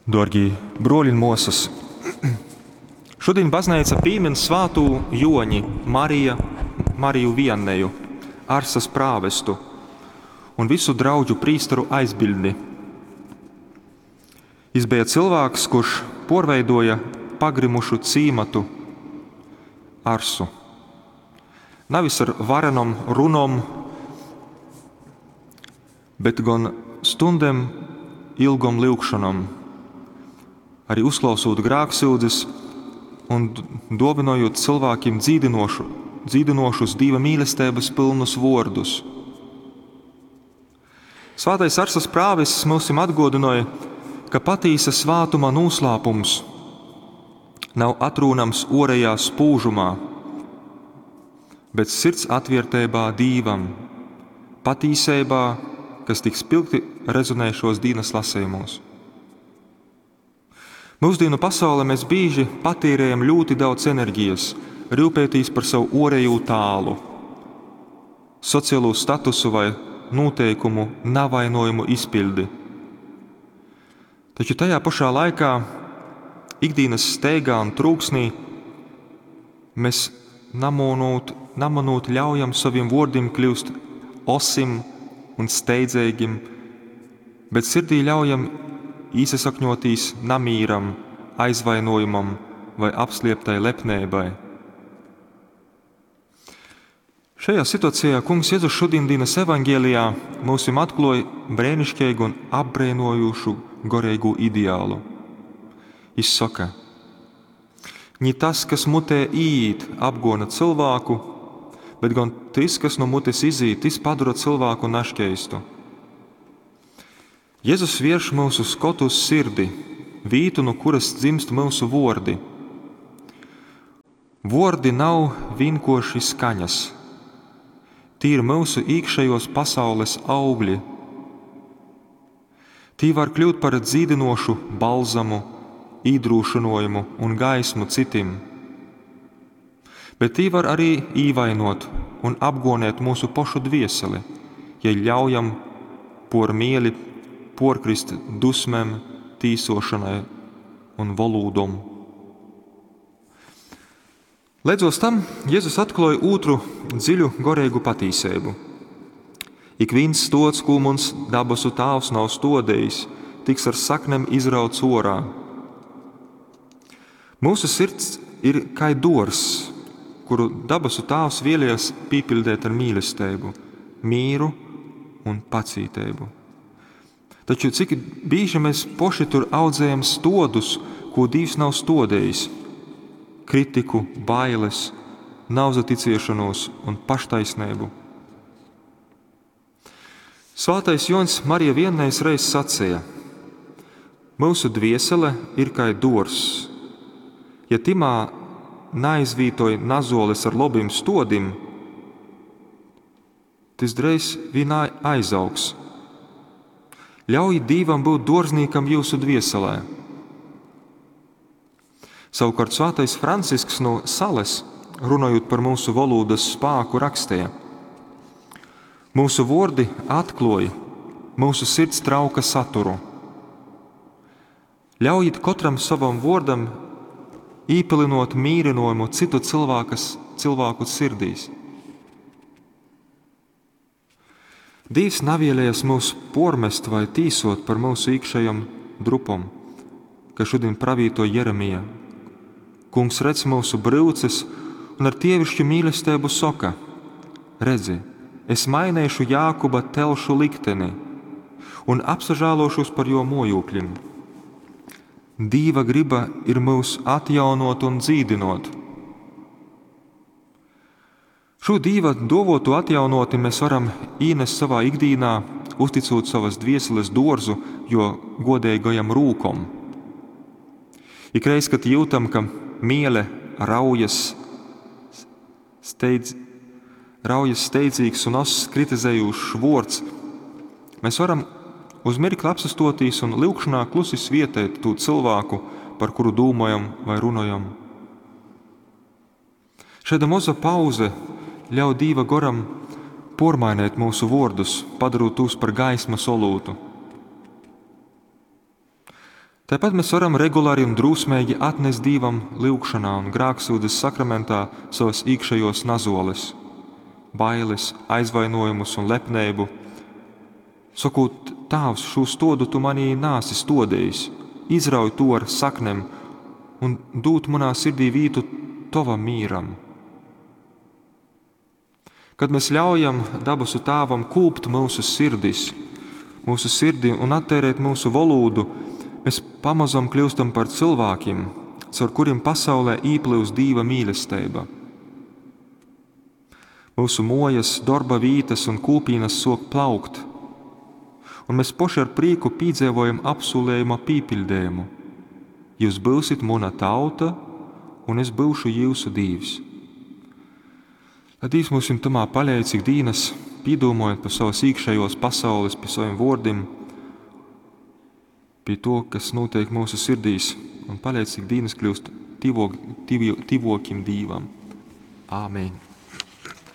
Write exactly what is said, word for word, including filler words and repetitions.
Dōrgī bruoļi un muosys, šudiņ bazneica pīmyn svātū Juoņi Marija, Mariju Vianneju, Arsas prāvestu un vysu draudžu prīsteru aizbiļdni. Jis beja cylvāks, kurš puorveiduoja pagrymušu cīmatu Arsu. Navis ar varenom runom, bet gon stundem ilgom lyugšonom, arī uzklausūt grāksyudzes un duovynojūt cylvākim dzīdynošu, dzīdynošus Dīva mīlesteibys pylnus vuordus. Svātais Arsas prāvests myusim atguodynoj, ka patīsa svātuma nūslāpums nav atrūnams uorejā spūžumā, bet sirds atvierteibā Dīvam, patīseibā, kas tik spilgti rezonē šuos dīnys lasejumos. Myusdīnu pasaulē mēs bīži patērējam ļoti daudz enerģijas, ryupētīs par savu uorejū tālu, socialū statusu vai nūteikumu navainojumu izpiļdi. Taču tajā pašā laikā ikdīnas steigā un trūksnī mēs namonūt, namanūt ļaujam sovim vuordim kļust osim un steidzeigim, bet sirdī ļaujam īsasakņotīs namīram, aizvainojumam vai apslieptai lepneibai. Šajā situācijā Kungs Jezus šodienas evaņgēlijā myusim atkluoj brēnišķeigu un apbrēnojošu goreigū ideālu. Jis soka: Ņi tas, kas mutē īīt, apgona cylvāku, bet gon tys, kas nu mutes izīt, tys padora cylvāku naškeistu. Jezus vierš myusu skotu uz sirdi, vītu, nu kuras dzimst myusu vuordi. Vuordi nav vīnkuorši skaņas. Tī ir myusu īkšejuos pasaules augļi. Tī var kļūt par dzīdynošu balzamu, īdrūšynojumu un gaismu cytim. Bet tī var arī īvainot un apgonēt mūsu pošu dvieseli, ja ļaujam por mieli puorkrist dusmem, tīsošanai un volūdom. Leidzos tam Jezus atkluoj ūtru dziļu goreigu patīseibu. Ikvīns stods, kū muns dabasu Tāvs nav stodējis, tiks ar saknem izrauts orā. Mūsu sirds ir kai dōrzs, kuru dabasu Tāvs vēlējies pīpildēt ar mīlestību, mīru un pacīteibu. Taču cik bīži mēs poši tur audzējam stodus, ko Dīvs nav stodējis – kritiku, bailes, nauzaticiešanos un paštaisnību. Svātais Joņs Marija Viennejs reiz sacīja: Mūsu dviesele ir kai dōrzs. Ja timā naizvītoj nazoles ar lobim stodim, tys dreiz vīn aizaugs. Ļaujit Dīvam būt dōrznīkam jūsu dvieselē. Savukārt svētais Francisks no Sales, runājot par mūsu volūdas spāku, rakstīja: Mūsu vordi atkluoj mūsu sirds trauka saturu. Ļaujit kotram savam vordam īpilinot mīrinojumu citu cilvēkas, cilvēku sirdīs. Dīvs navēlējas mūs pormest vai tīsot par mūsu iekšējom drupom, ka šodien pravīto Jeremija. Kungs redz mūsu bryuces un ar tievišķu mīlestību soka: Redzi, es mainēšu Jākuba telšu likteni un apsažālošos par jo mojūkļim. Dīva griba ir mūs atjaunot un dzīdinot. Šo Dīva dovotu atjaunoti mēs varam īnest savā ikdīnā, uzticot savas dvieseles dōrzu, jo godīgajam rūkom. Ikreiz, kad jūtam, ka miele raujas, steidz, raujas steidzīgs un oss kritizējošs vords, mēs varam uz mirkli apsastotīs un lyugšanā klusi svietēt tū cilvēku, par kuru dūmojam vai runojam. Šāda moza pauze ļauj Dīva goram pormainēt mūsu vordus, padarot tos par gaismas olūtu. Tāpat mēs varam regulāri un drūsmeigi atnest Dīvam lyugšanā un grāksūdzes sakramentā savas iekšējos nazoles, bailes, aizvainojumus un lepneibu, sakot: Tāvs, šo stodu tu manī nāsi stodījis, izrauj to ar saknem un dūt manā sirdī vītu tovam mīram. Kad mēs ļaujam dabasu Tāvam kūpt mūsu sirdis, mūsu sirdi un attērēt mūsu valodu, mēs pamazam kļūstam par cilvēkiem, caur kuriem pasaulē īplūst Dīva mīlestība. Mūsu mojas, darba vītas un kūpīnas sok plaukt, un mēs poši ar prieku pīdzīvojam apsolējuma pīpildējumu. Jūs būsit muna tauta, un es būšu jūsu dīvs. Lai Dīvs mums tamā paļauj, cik dīnas, pīdūmojot par savas iekšējos pasaules, pie saviem vārdiem, pie to, kas notiek mūsu sirdīs, un paļauj, cik dīnas kļūst tivok, tivok, tivokim Dīvam. Āmen!